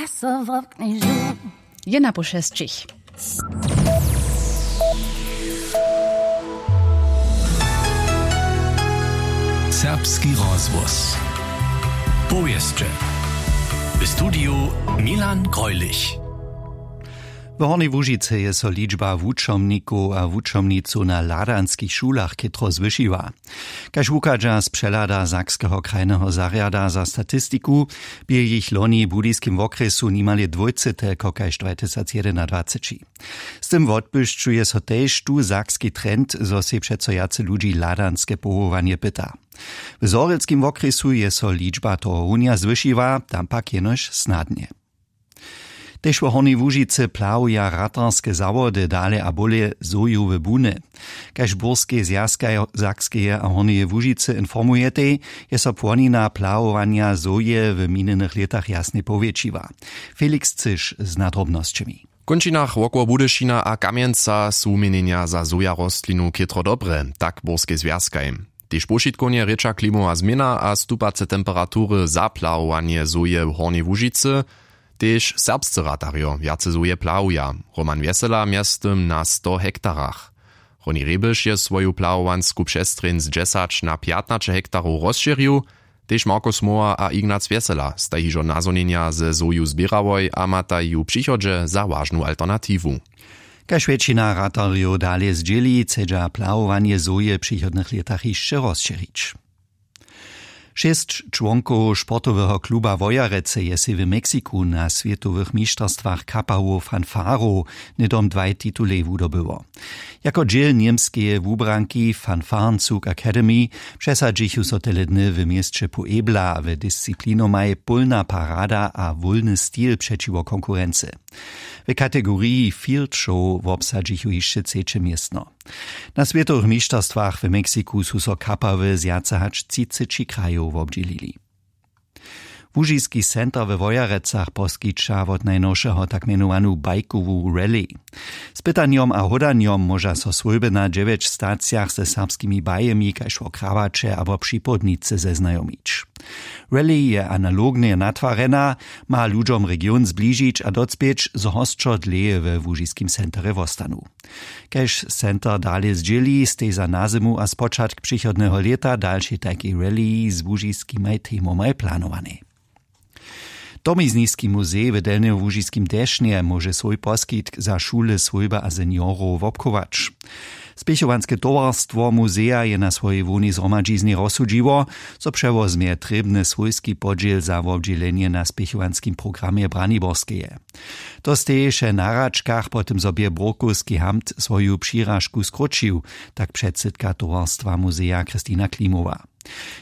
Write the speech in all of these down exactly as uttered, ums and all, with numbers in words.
A so wobknježu. Je na pół šesćich. Serbski rozhłos. Powěsće. W studiju Milan Greulich. W Hornjej Łužicy je so ličba wučomnikow a wučomnicow na hladanskich šulach chětro zwyšiła. Kaž wuchadźa z přehlada Sakskeho krajneho zarjada za statistiku, bě jich loni w budyskim wokrjesu nimale dwójce telko kaž dwatysacjedynadwaceći. Z tym wotbłyšćuje so tež tu sakski trend, zo sej přeco wjace ludźi hladanske powołanje pyta. W zhorjelskim wokrjesu je so ličba tohorunja zwyšiła, tam pak jenož snadnje. Tež wo Hornjej Łužicy plahuja ratarske zawody dale a bóle zoju w buny. Kaž burskej zwjazkaj Sakskeje a Hornjeje Łužicy informujetej, je so płonina plahowanja zoje w minjenych lětach jasnje powjetšiła. Felix Cyš z nadrobnosćemi. W kónčinach wokoło Budyšina a Kamjenca su wuměnjenja za zoja rostlinu chětro dobre, tak burskej zwjazkaj. Tež powšitkownje rěča klimowa změna a stupace temperatury za plahowanje zoje w Hornjej Łužicy. Tež serbscy ratarjo wjace zoje plahuja. Roman wjesela mjeztym na sto hektarach. Roni rebyš je swoju plahowansku přestrjeń z dźesać na pjatnaće hektarow rozšěrił. Tež marko smoła a ignac wjesela staj hižo nazhonjenja ze zoju zběrałoj a mataj ju w přichodźe za wažnu alternatiwu. Kaž wjetšina ratarjow dale zdźěli, chcedźa plahowanje zoje w přichodnych lětach hišće rozšěrić. Šěsć čłonkow sportoweho kluba wojerecy je sej w meksiku na swětowych mišterstwach kapałow fanfarow hnydom dwaj titulej wudobyło. Jako dźěl němskeje wubranki fanfarnzug academy přesadźichu so tele dny w měsće puebla w disciplinomaj pólna parada a wólny stil přećiwo konkurency. W kategoriji field show wobsadźichu hišće třeće městno. Na swětowych mišterstwach w meksiku su so kapały z wjace hač třiceći krajow wobdźělili. Łužiski center we wojerecach poskića wot najnowšeho tak mjenowanu bajkowu rally. Z pytanjom a hódanjom móža so swójby na dźewjeć stacijach ze serbskimi bajemi kaž wo krawaće abo připołdnicy zeznajomić. Rally je analognje natwarjena, ma ludźom region zbližić a docpěć zo hosćo dlěje we łužiskim centerje wostanu. Kaž center dale zdźěli, stej za nazymu a spočatk přichodneho lěta dalšej tajkej rally z łužiskimaj temomaj planowanej. Domizniski muzej w delnjołužiskim dešnje móže swój poskitk za šule swójby a seniorow wobchować. Spěchowanske towarstwo muzeja je na swojej hłownej zhromadźiznje rozsudźiło, zo přewozmje trěbny swójski podźěl za wobdźělenje na spěchowanskim programje braniborskeje. To steješe na hračkach po tym zo bě burkowski hamt swoju přiražku skróćił, tak předsydka towarstwa muzeja christina klimowa.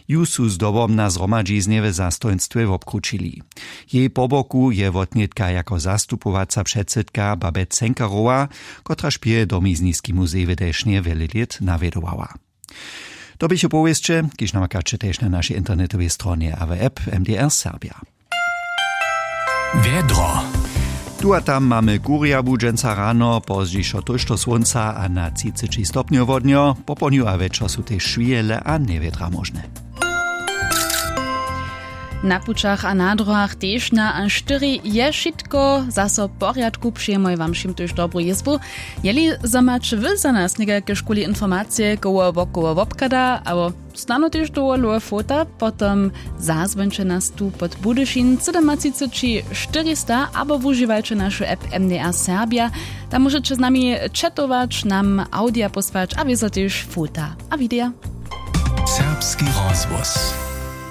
Ju su zdobom na zhromadźiznje w zastojnstwje wobkrućili. Jej po boku je wotnětka jako zastupowaca předsydka babet cenkarowa, kotraž pěje domizniski muzej w dešnje wjele lět nawjedowała. To běchu powěsće, kiž namakaće tež na našej internetowej stronje a w app mdr serbja. Wjedro. Tu a tam mamy kurjabu dźensa rano, pozdźišo tójšto słónca a na třiceći stopnjow wodnjo. Popołdnju a wječor su tež šwijele a njewjedra móžne. Na pućach a na dróhach tež na a štyri je wšitko zaso w porjadku, přejemoj wam wšěm tuž dobru jězbu. Jeli zo maće wy za nas někajke škuli informacije koło wokoło wobchada abo snano tež dowolowe fota, potom zazwońće nas tu pod budyšin sydomatřiceći štyrista abo wužiwajće našu app mdr serbja. Tam móžeće z nami četować, nam awdija pósłać a wězo tež fota a wideja. Serbski rozhłos.